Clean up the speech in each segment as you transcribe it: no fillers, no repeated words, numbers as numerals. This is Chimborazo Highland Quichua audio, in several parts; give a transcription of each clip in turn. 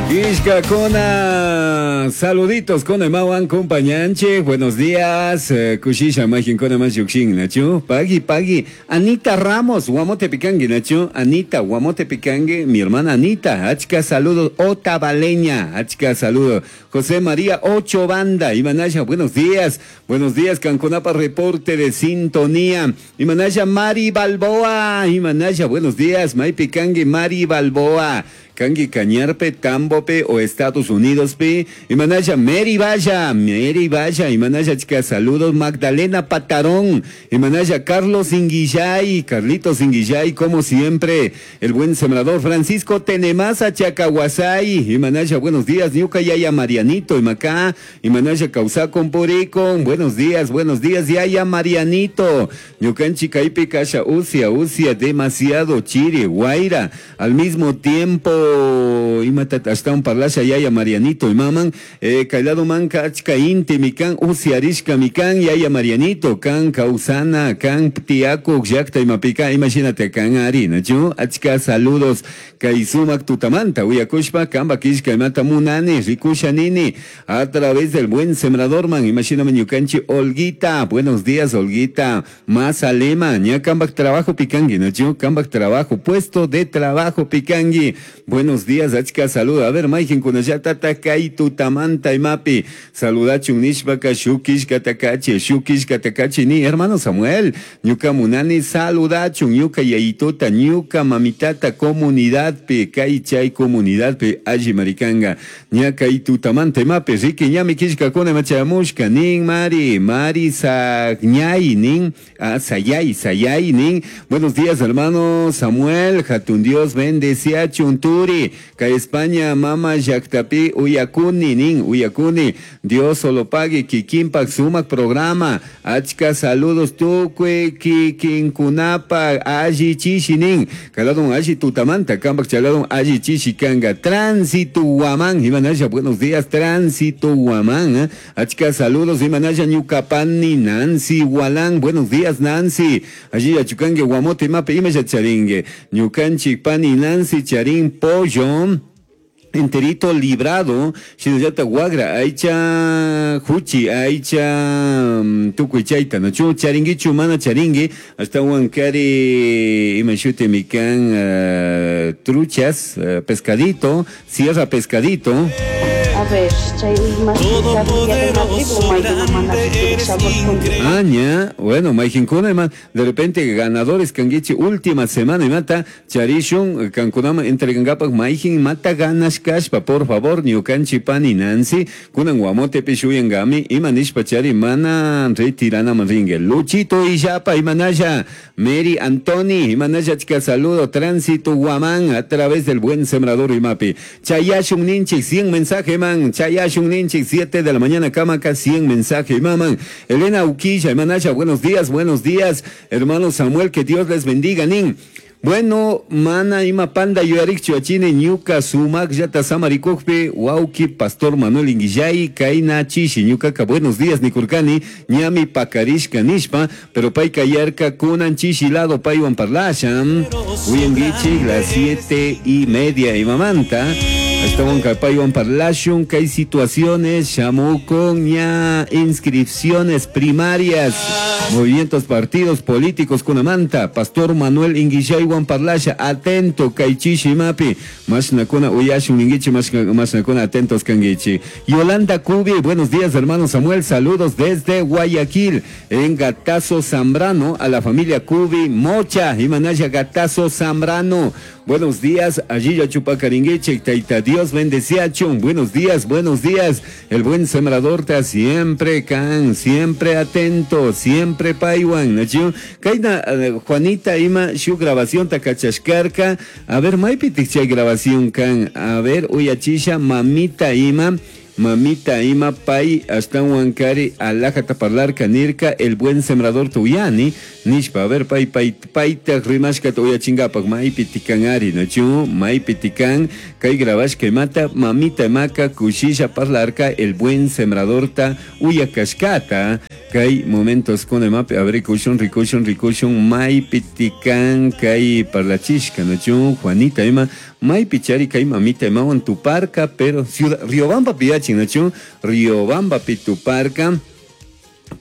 Kishkakuna, saluditos con imawan compañanche, buenos días, kushisha majinkuna mas llukshin, nachu, pagui, pagui, Anita Ramos, Guamote Picangue, nachu, Anita, Guamote Picangue, mi hermana Anita, achka saludos, Otavaleña, achka saludos, José María Ocho Banda, Imanaya, buenos días, Canconapa, reporte de sintonía, Imanaya, Mari Balboa, Imanaya, buenos días, May Picangue, Mari Balboa, Kangi Cañarpe, Tambope o Estados Unidos pe, Imanaya, Mary Vaya, Mary Vaya, Imanaya, chica, saludos, Magdalena Patarón, Imanaya, Carlos Inguillay, Carlitos Inguillay, como siempre, el buen sembrador, Francisco Tenemasa, Chacahuasay, Imanaya, buenos días, Ñuca Yaya Marianito, Imacá, Imanaya, Causaco, Purico, buenos días, Yaya Marianito, Ñucanchi, Caipe, Kasha, Usia, Usia, demasiado, Chiri, Guaira, al mismo tiempo, imata ashtawan parlasha yaya Marianito imaman, kaylado manka achka inti mikan usiarishka mikan yaya Marianito kan kausana kan ptiaku llakta imapika imagínate kan ari nachu achka saludos kay sumak tutamanta uyakushpa kamba kishka imata munani rikusha nini a través del buen sembrador man imagíname ñukanchi Olguita, buenos días Olguita, más alema ña kambak trabajo pikangi nachu kambak trabajo puesto de trabajo pikangi. Buenos días, achka saludo. A ver, Maikin kunayata kay tutamanta imapi. Saludachun nishpaka shukishka takachi, shukishka takachi ni hermano Samuel. Ñuka munani saludachun, ñuka yayitota, ñuka mamitata comunidad pe, kay chay comunidad pe, alli maricanga. Ña kay tutamanta imapi, riki ñami kishka kuna machamushka, nin mari, mari sagñay, nin, ah, sayay, sayay, nin. Buenos días, hermano Samuel, jatun Dios bendeciachun turi, ka España mama llaktapi uyakuni nin uyakuni Dios solo pague kikinpak sumak programa achka saludos tukui kikinkunapa alli chishi nin kaladun alli tutamanta kampak chaladun alli chishi kanga tránsito Guamán Imanaya, buenos días tránsito Guamán, Achka saludos Imanaya ñukapani Nancy Gualán, buenos días Nancy allí achukangue guamote mape imaya charingue ñukanchik pani Nancy charín pollo enterito librado, shinallata guagra, aicha juchi, aicha tukuy chayta, no chu charinguichu mana charingui, hasta huancari imashute mikan truchas, pescadito, sierra pescadito. A ver, chay más Todopoderoso, grande, eres increíble. Aña, bueno, Maijinkuna, man, de repente ganadores kanguichi última semana y mata charishun kankunama entregangapak maijin mata ganas kashpa, por favor, ñukanchi pani Nancy, kunan guamote pishuyangami, imanishpa chari mana retirana manringue. Luchito Illapa, imanaya, Mary Antoni, imanaya chica saludo, tránsito Guamán, a través del buen sembrador imapi. Chayashun ninchi, 100 mensaje man, Chayashun ninchi, 7 de la mañana, Camaca, 100 mensaje, maman. Elena Uquilla, imanaya, buenos días, hermano Samuel, que Dios les bendiga, nin. Bueno, mana ima panda yuarik chuachine ñuka sumak yata samarikukpi wauki pastor Manuel Inguillay kaina chishi ñukaka buenos días nikurkani ñami pakarishka nishpa pero pay kayarka kunan chishi lado paywan parlashan uyanguichi las 7:30 imamanta Estaban paywan parlashun kay situaciones shamucon ña inscripciones primarias movimientos partidos políticos kunamanta pastor Manuel Inguillay Juan Parlasha, atento, kaichishi mapi, mashnakuna uyashun ninguichi, mashnakuna atentos kanguichi. Yolanda Cubi, buenos días hermano Samuel, saludos desde Guayaquil, en Gatazo Zambrano, a la familia Cubi Mocha, Imanaya Gatazo Zambrano. Buenos días, allí ya chupacaringueche, taita Dios bendeciachun. Buenos días, buenos días. El buen sembrador está siempre can, siempre atento, siempre paiwan. Nachu, kaina, Juanita ima shu grabación takachashkarka. A ver, maipi tikchay grabación can. A ver, uyachisha, mamita ima. Mamita ima pay ashtahuankari alajata parlarka nirka el buen sembrador tuyani nishpa. A ver, pay pay payta rimashkata uyachinkapak maypi tikanari, nachu? Maypi tikan kay grabashka imata mamita imaka kushisha parlarka el buen sembradorta uyakashkata kay momentos kuna imapi. A ver, rikushun, rikushun, rikushun maypi tikan kay parlachishka, nachu? Juanita ima maypi chari kay mamita imawan tuparka, pero ciudad Riobamba piyachin, nachu? Riobamba pi tuparka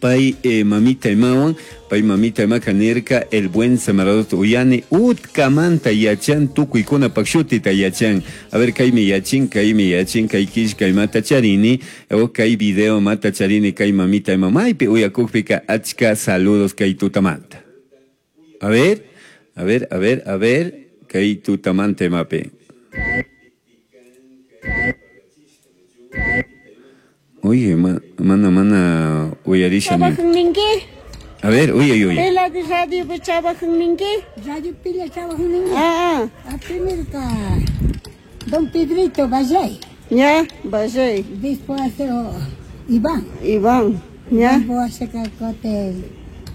pay mamita imawan, pay mamita imaka nirka el buen sembrador uyani utkamanta yachan tukuykuna pakshutita yachan. A ver, kaymi yachin, kaymi yachin, kay killka imata charini, o kay video mata charini, kay mamita ima maypi uyakukpika achka saludos kay tutamanta. A ver, a ver, a ver, a ver, kay tutamanta imapi. Oye, mana, mana, uyarisha ni. Trabajan ninki. A ver, uy, uy, uy. Pila de radio pe trabajan ninki. Radio pila trabajan ninki. Ah, ah. A primero ka Don Pedrito Valley. Ya, Valley. Después hace Iván. Iván, ya. Después hace ka cote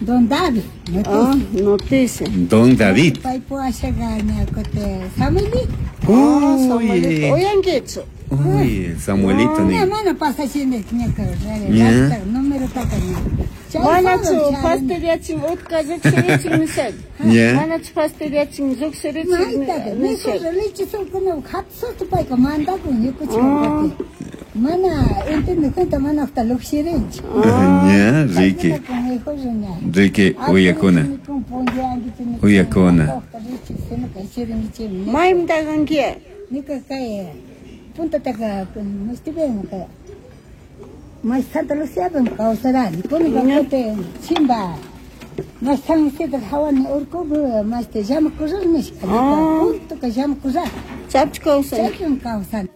Don David. Noticia. Ah, noticia. Don David. Después hace ka ña cote Samuelito. Ah, Uy. Samuelito. Oigan, ¿qué hecho? Uy, Samuelito, No, ni. mana pasa haciendo el ña ka, Ya. número taca ña. Mana chu fastidiachin utka lluqshirichin nisha. Ya. Mana chu fastidiachin lluqshirichin Maitaca, nisha. mejor leche son como hatsuto payka mandakun ñukuchik. Mana entiende cuenta mana hasta lluqshirinchik. Ya, Ricky. Ricky, uyakuna. Uyakuna. Maymanta kanki? Ñuka kay puntataka mustibén kay mas Santa Lucía ben kawsarani. Kuna kay chimba. Mas San Isidro hawani urku mas te llama corral nishka. Punto que llama corral. Chapch kawsan. Chapch kawsan.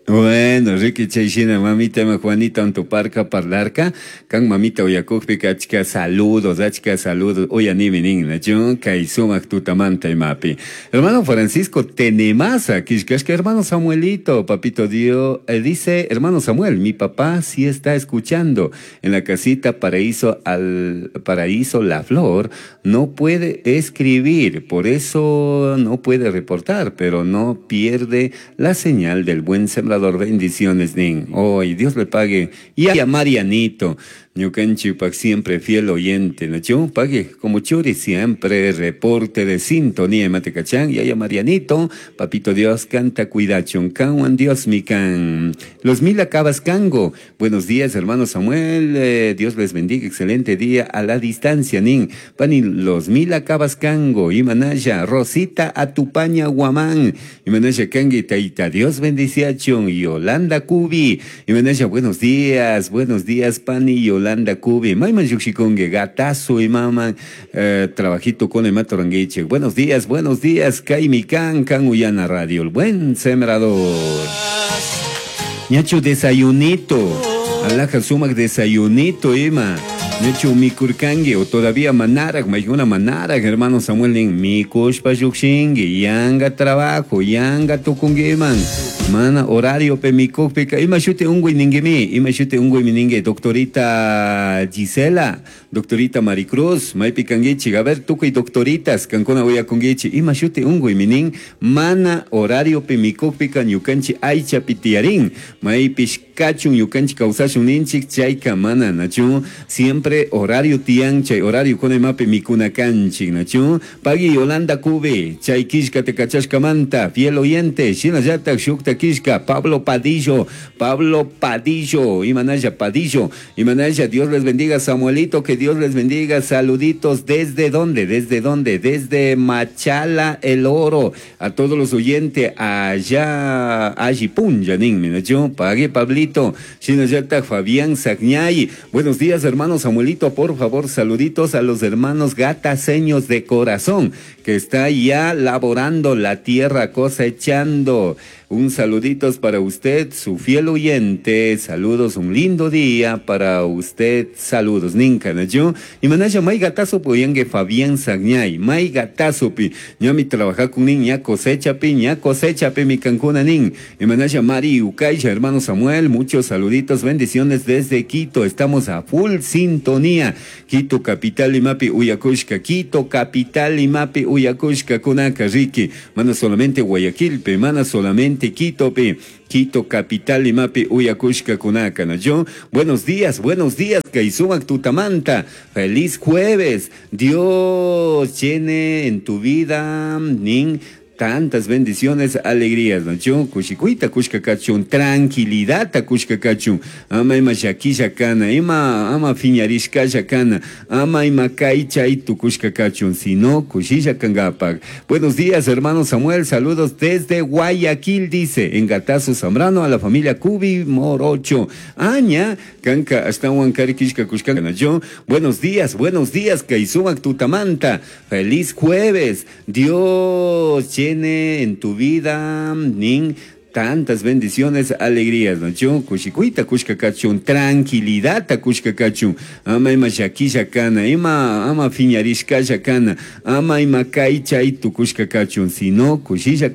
Bueno, Ricky Chayshina, mamita, ma Juanita, antuparca, parlarca, kan mamita uyakukpika, achka saludos, achka saludos, uyanimi nin, nachun, kay sumak tutamanta imapi. Hermano Francisco Tenemasa, kishkashka, hermano Samuelito, papito Dios, dice, hermano Samuel, mi papá sí está escuchando en la casita Paraíso, al Paraíso La Flor, no puede escribir, por eso no puede reportar, pero no pierde la señal del buen sembrador. Bendiciones, nin. Hoy Dios le pague. Y a Marianito, ñukanchipak siempre fiel oyente, ¿no? Pague como churi siempre reporte de sintonía en Matecachán. Y a Marianito, papito Dios canta cuidachon, canwan Dios mi can. Los mil acabas cango. Buenos días, hermano Samuel. Dios les bendiga. Excelente día a la distancia, nin. Pani, los mil acabas cango. Imanaya, Rosita Atupaña Guamán. Imanaya Kangi Taita. Dios bendiciachon. Yolanda Cubi. Imanaya, buenos días, pani Yolanda Cubi. Mayman Yuxikonge, gatazo y mama, trabajito con el matoranguiche. Buenos días, Kaimikan, Kan Uyana Radio, el buen sembrador. Ñacho desayunito, alaja sumac desayunito, ima. Ñacho mikurkangue, o todavía manarak, mayguna manarak, hermano Samuel, nin, mikushpa yuxingue, yanga trabajo, yanga tukunguiman. Mana horario pe mikukpika, ima shute ungui ninguemi, ima shute ungui miningue, doctorita Gisela, doctorita Maricruz, maipi kanguichi, a ver, tukuy doctoritas, kankuna uyakunguichi, ima shute ungui minin, mana horario pe mikukpika, ñukanchi aycha pitiarin, maipish kachun, ñukanchi kawsashun ninchik, chayka mana, nachu, siempre horario tian, chay horario con mape mikuna kanchik, nachu, pagui Yolanda Cube, chay kishka te kachashkamanta, fiel oyente, shinallatak shukta Kishka, Pablo Padillo, Imanaya Padillo, Imanaya, Dios les bendiga, Samuelito, que Dios les bendiga, saluditos, ¿desde dónde? ¿Desde dónde? Desde Machala el Oro, a todos los oyentes allá, allí, Yanin, Minacho, pague Pablito, Shinayata, Fabián Sagñay, buenos días, hermano Samuelito, por favor, saluditos a los hermanos gataseños de corazón, Que está ya laborando la tierra, cosechando. Un saluditos para usted, su fiel oyente. Saludos, un lindo día para usted. Saludos, ninka nachu. Y manasha may gatazo puyangue Fabián Sagñay. May gatazo pi. Ñami trabaja con nin, ña cosecha pi, ña cosecha pi mi cancuna nin. Y manasha Mari Ucaisha, hermano Samuel, muchos saluditos, bendiciones desde Quito. Estamos a full sintonía. Quito capital imapi uyakushka. Quito capital imapi uyakushka kunaka riki. Mana solamente Guayaquil pe, mana solamente Quito pe. Quito capital imapi uyakushka kunaka na yo. Buenos días, Kaisumac Tutamanta. Feliz jueves. Dios llene en tu vida, nin tantas bendiciones, alegrías, ¿no? Yo, kushikuita, kushkakachun, tranquilidad, kushkakachun, ama ima shakisha kana, ima, ama fiñarishkasha kana, ama ima kaychay tukushkakachun, sino kushisha kangapak. Buenos días, hermano Samuel, saludos desde Guayaquil, dice, en Gatazo Zambrano, a la familia Cubi Morocho. Aña, kanka, hasta Huancarikishka kushkana, yo. Buenos días, Kaisumac Tutamanta. Feliz jueves. Dios llene en tu vida, nin, tantas bendiciones, alegrías, ¿no? Yo, kushikuita, kushkakachun, tranquilidad, kushkakachun, ama ima shakisha kana, ima, ama fiñarishkasha kana, ama ima kaychay tukushkakachun, sino kushisha.